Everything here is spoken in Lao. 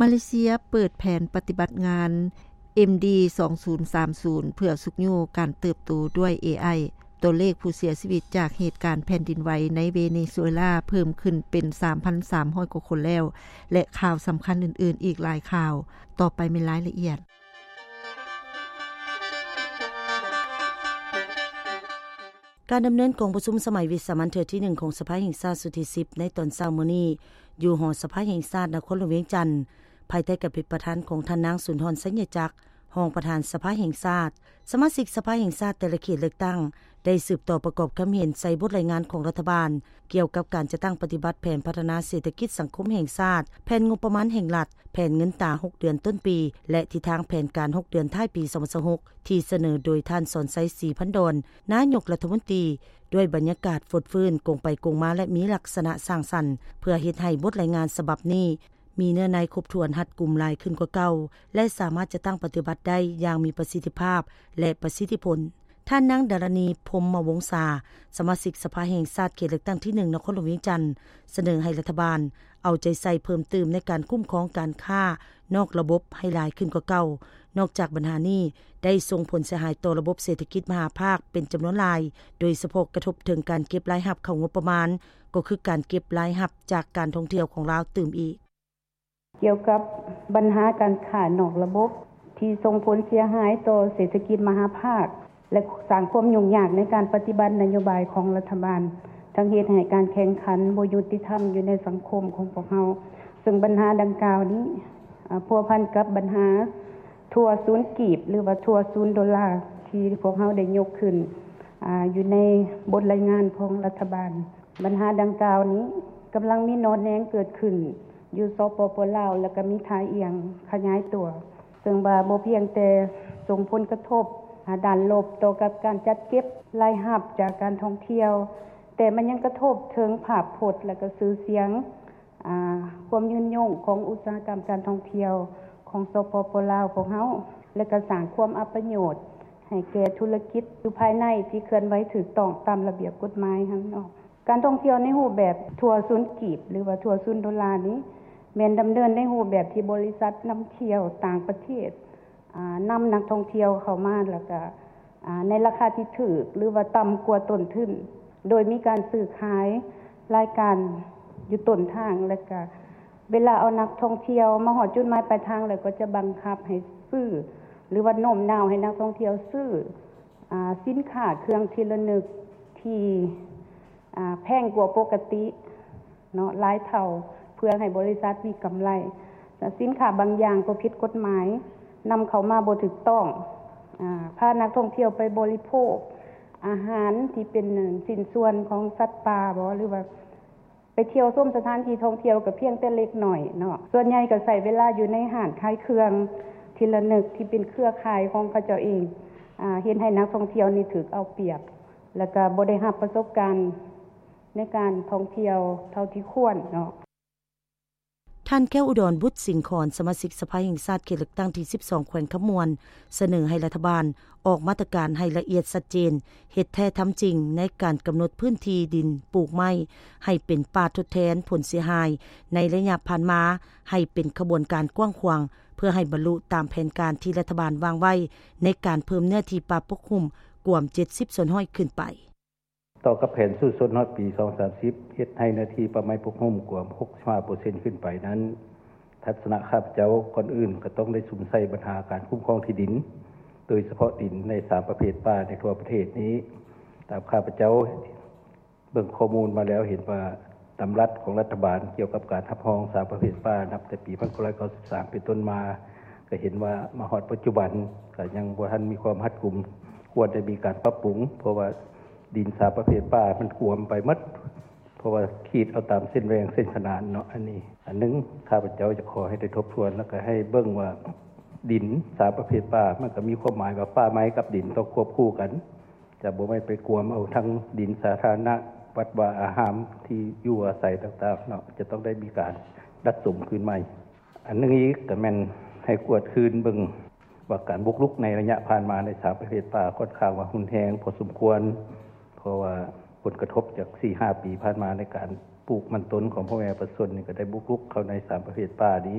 ມາເລເຊຍເປີດແຜນປະຕິບັດງານ ເອັມດີ ສອງສູນສາມສູນ ເພື່ອຊຸກຍູ້ການເຕີບໂຕດ້ວຍ ເອໄອ. ຕົວເລກຜູ້ເສຍຊີວິດຈາກເຫດການແຜ່ນດິນໄຫວໃນເວເນຊູເອລາເພີ່ມຂຶ້ນເປັນ ສາມພັນສາມຮ້ອຍ ກວ່າຄົນແລ້ວ ແລະ ຂ່າວສຳຄັນອື່ນໆອີກຫຼາຍຂ່າວ. ຕໍ່ໄປແມ່ນລາຍລະອຽດ. ການດຳເນີນກອງປະຊຸມສະໄໝວິສາມັນເທື່ອທີໜຶ່ງຂອງສະພາແຫ່ງຊາດຊຸດທີສິບ ໃນຕອນເຊົ້າມື້ນີ້ ຢູ່ຫໍສະພາແຫ່ງຊາດນະຄອນຫຼວງວຽງຈັນ ພາຍໃຕ້ການເປັນປະທານຂອງທ່ານນາງ ສຸນທອນ ໄຊຍະຈັກ ຮອງປະທານສະພາແຫ່ງຊາດ. ສະມາຊິກສະພາແຫ່ງຊາດແຕ່ລະເຂດເລືອກຕັ້ງ ໄດ້ສືບຕໍ່ປະກອບຄຳເຫັນໃສ່ບົດລາຍງານຂອງລັດຖະບານ ກ່ຽວກັບການຈັດຕັ້ງປະຕິບັດແຜນພັດທະນາເສດຖະກິດສັງຄົມແຫ່ງຊາດ, ແຜນງົບປະມານແຫ່ງລັດ, ແຜນເງິນຕາຫົກເດືອນຕົ້ນປີ ແລະ ທິດທາງແຜນການຫົກເດືອນທ້າຍປີສອງພັນຊາວຫົກ ທີ່ສະເໜີໂດຍທ່ານ ສອນໄຊ ສີພັນດອນ ນາຍົກລັດຖະມົນຕີ ດ້ວຍບັນຍາກາດຟົດຟື້ນ, ກົງໄປກົງມາ ແລະ ມີລັກສະນະສ້າງສັນ ເພື່ອເຮັດໃຫ້ບົດລາຍງານສະບັບນີ້ ມີເນື້ອໃນຄົບຖ້ວນ, ຮັດກຸມຫຼາຍຂຶ້ນກວ່າເກົ່າ ແລະ ສາມາດຈັດຕັ້ງປະຕິບັດໄດ້ຢ່າງມີປະສິດທິພາບ ແລະ ປະສິດທິຜົນ. ທ່ານນາງ ດາລະນີ ພົມມະວົງສາ, ສະມາຊິກສະພາແຫ່ງຊາດເຂດເລືອກຕັ້ງທີໜຶ່ງ ນະຄອນຫຼວງວຽງຈັນ ສະເໜີໃຫ້ລັດຖະບານເອົາໃຈໃສ່ເພີ່ມຕື່ມໃນການຄຸ້ມຄອງການຄ້ານອກລະບົບໃຫ້ຫຼາຍຂຶ້ນກວ່າເກົ່າ. ນອກຈາກບັນຫານີ້ໄດ້ສົ່ງຜົນເສຍຫາຍຕໍ່ລະບົບເສດຖະກິດມະຫາພາກເປັນຈຳນວນຫຼາຍ, ໂດຍສະເພາະກະທົບເຖິງການເກັບລາຍຮັບເຂົ້າງົບປະມານ, ກໍຄືການເກັບລາຍຮັບຈາກການທ່ອງທ່ຽວຂອງລາວຕື່ມອີກ. ກ່ຽວກັບບັນຫາການຄ້ານອກລະບົບ ທີ່ສົ່ງຜົນເສຍຫາຍຕໍ່ເສດຖະກິດມະຫາພາກ ແລະ ສ້າງຄວາມຫຍຸ້ງຍາກໃນການປະຕິບັດນະໂຍບາຍຂອງລັດຖະບານ, ທັງເຮັດໃຫ້ການແຂ່ງຂັນບໍ່ຍຸຕິທຳຢູ່ໃນສັງຄົມຂອງພວກເຮົາ. ເຊິ່ງບັນຫາດັ່ງກ່າວນີ້ ອາ ພົວພັນກັບບັນຫາຖົ່ວສູນກີບ ຫຼືວ່າຖົ່ວສູນໂດລາ ທີ່ພວກເຮົາໄດ້ຍົກຂຶ້ນ ອາ ຢູ່ໃນບົດລາຍງານຂອງລັດຖະບານ. ບັນຫາດັ່ງກ່າວນີ້ກຳລັງມີໜໍ່ແໜງເກີດຂຶ້ນຢູ່ ສປປ ລາວ ແລະ ກະມີທ່າອ່ຽງຂະຫຍາຍຕົວ, ເຊິ່ງວ່າບໍ່ພຽງແຕ່ສົ່ງຜົນກະທົບ ອາ ດ້ານລົບຕໍ່ກັບການຈັດເກັບລາຍຮັບຈາກການທ່ອງທ່ຽວ, ແຕ່ມັນຍັງກະທົບເຖິງພາບພົດ ແລະ ກະຊື່ສຽງ ອາ ຄວາມຍືນຍົງຂອງອຸດສາຫະກຳການທ່ອງທ່ຽວຂອງ ສປປ ລາວ ຂອງເຮົາ ແລະ ກະສ້າງຄວາມອັບປະໂຫຍດໃຫ້ແກ່ທຸລະກິດຢູ່ພາຍໃນທີ່ເຄື່ອນໄຫວຖືກຕ້ອງຕາມລະບຽບກົດໝາຍຫັ້ນເນາະ. ການທ່ອງທ່ຽວໃນຮູບແບບຖົ່ວສູນກີບ ຫຼືວ່າຖົ່ວສູນໂດລານີ້ ແມ່ນດຳເນີນໃນຮູບແບບທີ່ບໍລິສັດນຳທ່ຽວຕ່າງປະເທດ ອາ ນຳນັກທ່ອງທ່ຽວເຂົ້າມາ ແລ້ວກະ ອາ ໃນລາຄາທີ່ຖືກ ຫຼືວ່າຕ່ຳກວ່າຕົ້ນທຶນ, ໂດຍມີການຊື້ຂາຍລາຍການຢູ່ຕົ້ນທາງ ແລ້ວກະເວລາເອົານັກທ່ອງທ່ຽວມາຮອດຈຸດໝາຍປາຍທາງແລ້ວ ກໍຈະບັງຄັບໃຫ້ຊື້ ຫຼືວ່າໂນ້ມນ້າວໃຫ້ນັກທ່ອງທ່ຽວຊື້ ອາ ສິນຄ້າເຄື່ອງທີ່ລະນຶກທີ່ ອາ ແພງກວ່າປົກກະຕິເນາະ ຫຼາຍເທົ່າ ເພື່ອໃຫ້ບໍລິສັດມີກຳໄລ. ແລະ ສິນຄ້າບາງຢ່າງກໍຜິດກົດໝາຍ ນຳເຂົ້າມາບໍ່ຖືກຕ້ອງ ອາ ພານັກທ່ອງທ່ຽວໄປບໍລິໂພກອາຫານທີ່ເປັນຊິ້ນສ່ວນຂອງສັດປ່າບໍ ຫຼືວ່າ ໄປທ່ຽວຊົມສະຖານທີ່ທ່ອງທ່ຽວກໍພຽງແຕ່ເລັກນ້ອຍເນາະ, ສ່ວນໃຫຍ່ກໍໃຊ້ເວລາຢູ່ໃນຮ້ານຂາຍເຄື່ອງທີ່ລະນຶກທີ່ເປັນເຄືອຂ່າຍຂອງເຂົາເຈົ້າເອງ, ອາ ເຮັດໃຫ້ນັກທ່ອງທ່ຽວນີ້ຖືກເອົາປຽບ ແລ້ວກໍບໍ່ໄດ້ຮັບປະສົບການໃນການທ່ອງທ່ຽວເທົ່າທີ່ຄວນເນາະ. ທ່ານ ແກ້ວອຸດອນ ບຸດສິງຄອນ ສະມາຊິກສະພາແຫ່ງຊາດເຂດເລືອກຕັ້ງທີສິບສອງ ແຂວງຄຳມ່ວນ ສະເໜີໃຫ້ລັດຖະບານອອກມາດຕະການໃຫ້ລະອຽດຊັດເຈນ, ເຮັດແທ້ທຳຈິງໃນການກຳນົດພື້ນທີ່ດິນປູກໄມ້ໃຫ້ເປັນປ່າທົດແທນຜົນເສຍຫາຍໃນໄລຍະຜ່ານມາ ໃຫ້ເປັນຂະບວນການກວ້າງຂວາງ ເພື່ອໃຫ້ບັນລຸຕາມແຜນການທີ່ລັດຖະບານວາງໄວ້ໃນການເພີ່ມເນື້ອທີ່ປ່າປົກຫຸ້ມກວມເຈັດສິບສ່ວນຮ້ອຍຂຶ້ນໄປ. ຕໍ່ກັບແຜນສູ້ຊົນຮອດປີສອງພັນສາມສິບ ເຮັດໃຫ້ເນື້ອທີ່ປ່າໄມ້ປົກຫຸ້ມກວມຫົກສິບຫ້າເປີເຊັນຂຶ້ນໄປນັ້ນ, ທັດສະນະຂ້າພະເຈົ້າ ກ່ອນອື່ນກໍຕ້ອງໄດ້ສຸມໃສ່ບັນຫາການຄຸ້ມຄອງທີ່ດິນ, ໂດຍສະເພາະດິນໃນສາມປະເພດປ່າໃນທົ່ວປະເທດນີ້. ຕາມຂ້າພະເຈົ້າເບິ່ງຂໍ້ມູນມາແລ້ວ ເຫັນວ່າດຳລັດຂອງລັດຖະບານກ່ຽວກັບການຮັບຮອງສາມປະເພດປ່າ ນັບແຕ່ປີພັນເກົ້າຮ້ອຍເກົ້າສິບສາມເປັນຕົ້ນມາ ກໍເຫັນວ່າມາຮອດປັດຈຸບັນກໍຍັງບໍ່ທັນມີຄວາມຮັດກຸມ, ຄວນໄດ້ມີການປັບປຸງ ເພາະວ່າ ດິນສາມປະເພດປ່າມັນກວມໄປໝົດ, ເພາະວ່າຂີດເອົາຕາມເສັ້ນແຫວ່ງເສັ້ນຂະໜານເນາະ. ອັນນີ້ອັນໜຶ່ງ ຂ້າພະເຈົ້າຈະຂໍໃຫ້ໄດ້ທົບທວນ ແລ້ວກໍໃຫ້ເບິ່ງວ່າດິນສາມປະເພດປ່າ ມັນກໍມີຄວາມໝາຍວ່າປ່າໄມ້ກັບດິນຕ້ອງຄວບຄູ່ກັນ, ຈະບໍ່ແມ່ນໄປກວມເອົາທັງດິນສາທາລະນະ, ວັດວາອາຮາມ, ທີ່ຢູ່ອາໄສຕ່າງໆເນາະ, ຈະຕ້ອງໄດ້ມີການດັດສົມຄືນໃໝ່. ອັນໜຶ່ງອີກກໍແມ່ນໃຫ້ກວດຄືນເບິ່ງວ່າການບຸກລຸກໃນໄລຍະຜ່ານມາໃນສາມປະເພດປ່າຂ້ອນຂ້າງວ່າຮຸນແຮງພໍສົມຄວນ, ເພາະວ່າຜົນກະທົບຈາກສີ່ຫ້າປີຜ່ານມາໃນການປູກມັນຕົ້ນຂອງພໍ່ແມ່ປະຊາຊົນນີ້ກໍໄດ້ບຸກລຸກເຂົ້າໃນສາມປະເພດປ່ານີ້.